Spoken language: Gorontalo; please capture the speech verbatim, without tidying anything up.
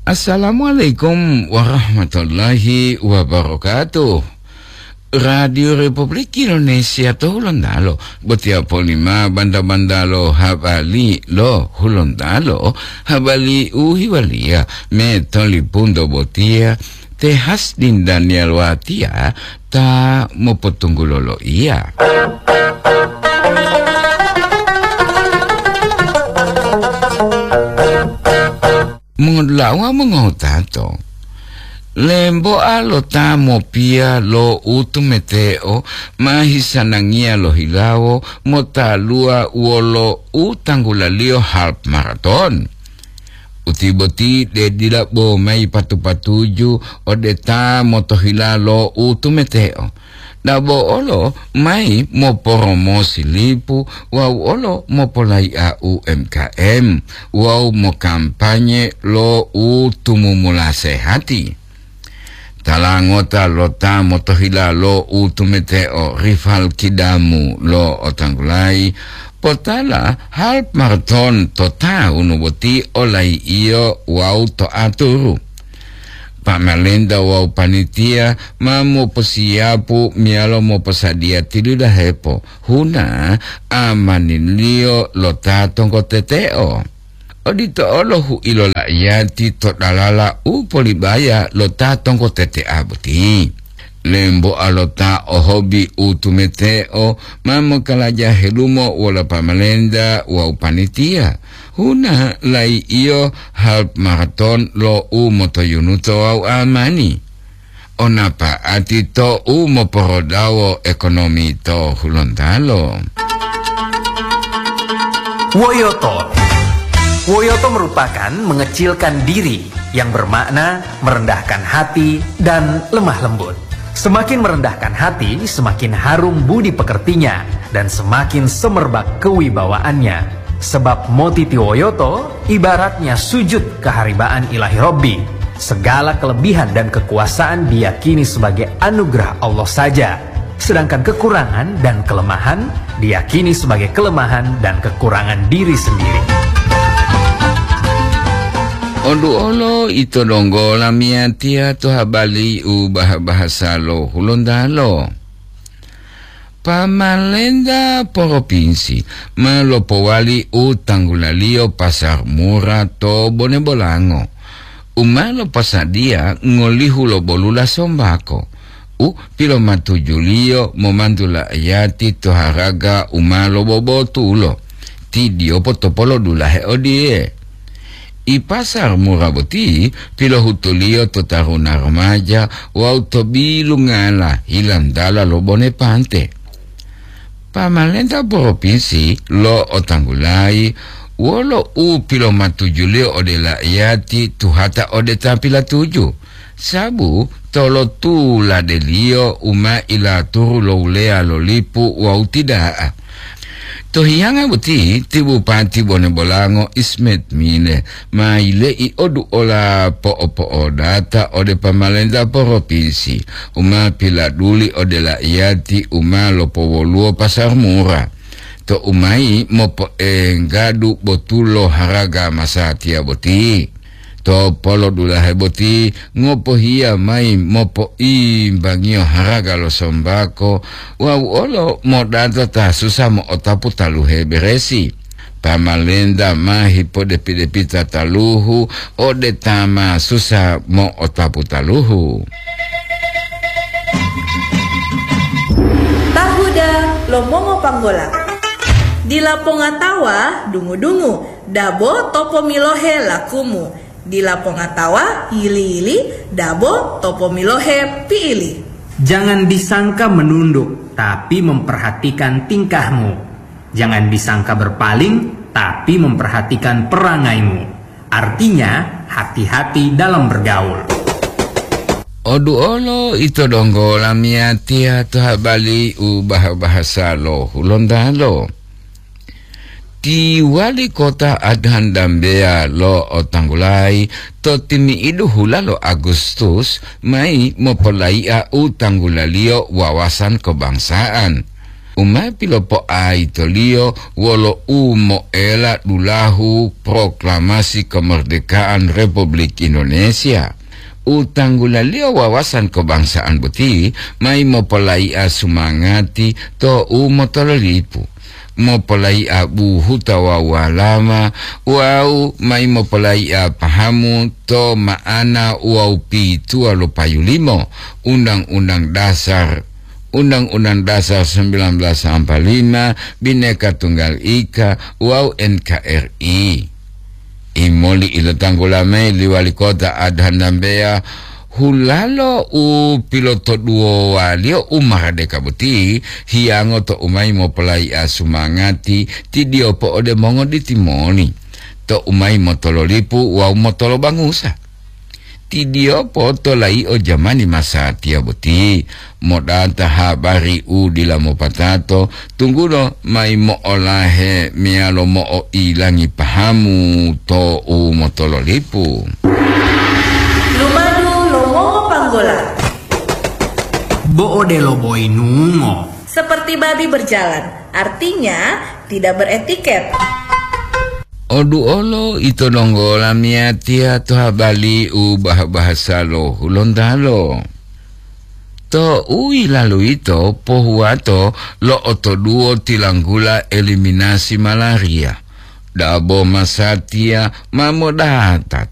Assalamualaikum warahmatullahi wabarakatuh. Radio Republik Indonesia to Hulontalo, botiya polima banda-banda lo habari lo Hulontalo, habari u hiwaliya me tolipunto botiya, te Hasdin Daniel Watia ta mopotunggulo loiya. Mongodula'a wawu mongotato, lemboa lo ta mopiya lo utumeteo ma hisanangiya lohilawo motaluwa wolo u tanggulaliyo half maraton. Uti boti de dila bo mayi patu-patuju ode ta motohila lo utumeteo. Dabo olo mayi moporomosi lipu wawu olo mopolai'a U M K M wawu mokampanye lo u tumumula sehati. Tala ngota lo ta motohila lo utumeteo rival kidamu lo otanggulayi, potala half maraton to tawunu boti olai'iyo wawu to aturu. Pamalenta wawu panitiya ma moposiyapu meyalo moposadiya tilidahepo huna amaniliyo lo ta tonggoteteo. Odito olo hu'ilo la'iyati to dalala u polibaya lo ta tonggotetea boti. Lemboa lo ta ohobi u tumeteo ma mokalaja helumo wolo pamalenta wawu panitiya. Huna lai'iyo half maraton lo u motoyunuto wawu amani. Onapa'ati to u moporodawo ekonomi to Hulontalo. Woyoto. Woyoto merupakan mengecilkan diri, yang bermakna merendahkan hati dan lemah lembut. Semakin merendahkan hati, semakin harum budi pekertinya, dan semakin semerbak kewibawaannya. Sebab motitiwoyoto ibaratnya sujud keharibaan Ilahi Robbi. Segala kelebihan dan kekuasaan diyakini sebagai anugerah Allah saja, sedangkan kekurangan dan kelemahan diyakini sebagai kelemahan dan kekurangan diri sendiri. Oduolo ito donggo lamiyatiya to habari u bah-bahasa lo Hulontalo. Pamalenta poropinsi ma lopowali u tanggulaliyo pasar mura to Bone Bolango, u ma loposadiya ngolihu lo bolula sombako, u pilomatujuliyo momantu la'iyati to haraga u ma lobobotulo, ti diyopo topolodulahe odiye. I pasar mura boti pilohutuliyo to taruna remaja wawu to bilungala hilandala lo Bone Pante. Pamalenta poropinsi lo otanggulayi wolo u pilomatujuliyo ode la'iyati tuhata ode ta pilatuju, sabu tolotuladeliyo u ma ilaturu lo wuleya lo lipu wawu ti da'a. To hiyanga boti ti Bupati Bone Bolango Ismet Mile ma yile'i oduola po'opo'odata ode pamalenta poropinsi u ma piladuli ode la'iyati u ma lopowoluwo pasar mura, to u mayi mopoenggadu botulo haraga masatiya boti. To polodulahe boti ngopohiya mayi mopoimbangiyo haraga lo sombako wawu olo modata ta susa mo'otapu taluhe beresi. Pamalenta ma hipodepi-depita taluhu ode ta ma susa mo'otapu taluhu. Tahuda lo mongopanggola. Dila pongatawa dungu-dungu, dabo topomilohe lakumu. Dila pongatawa yili-yili, dabo topomilohe pi'ili. Jangan disangka menunduk, tapi memperhatikan tingkahmu. Jangan disangka berpaling, tapi memperhatikan perangaimu. Artinya, hati-hati dalam bergaul. Oduolo ito donggo lamiyatiya to habari u bah-bahasa lo Hulontalo. Ti wali kota Adhan Dambeya lo otanggulayi to timi'idu hula lo Agustus mayi mopolai'a u tanggulaliyo wawasan kebangsaan. u ma pilopoaitoliyo wolo u moela dulahu proklamasi kemerdekaan Republik Indonesia. U tanggulaliyo wawasan kebangsaan boti mai mopolai'a sumangati to u motololipu, mopolai'a buhuta wawu walama, wawu mai mopolai'a pahamu to ma'ana wawu pituwa lo payu limo Undang-Undang Dasar, Undang-Undang Dasar sembilan belas empat lima, Bhinneka Tunggal Ika, wawu N K R I. Imoli ilotanggula mayi li wali kota Adhan Dambeya, hulalo u pilotoduwowaliyo u maradeka boti, hiyango to u mayi mopolai'a sumangati tidiyopo ode mongoditi moli, to u mayi motololipu wawu motolobangusa. Tidiyopo to layi'o jamani masatiya boti, modata habari u dila mopatato, tunggulo mayi mo'olahe meyalo mo'oilangi pahamu to u motololipu. Lumadu lo Mongo Panggola. Bo odelo boyinungo. Seperti babi berjalan, artinya tidak beretiket. Oduolo ito donggo lamiyatiya to habali u bah-bahasa lo Hulontalo. To u yilalu yito pohuwato lo otoduwo tilanggula eliminasi malaria. Dabo masatiya ma modata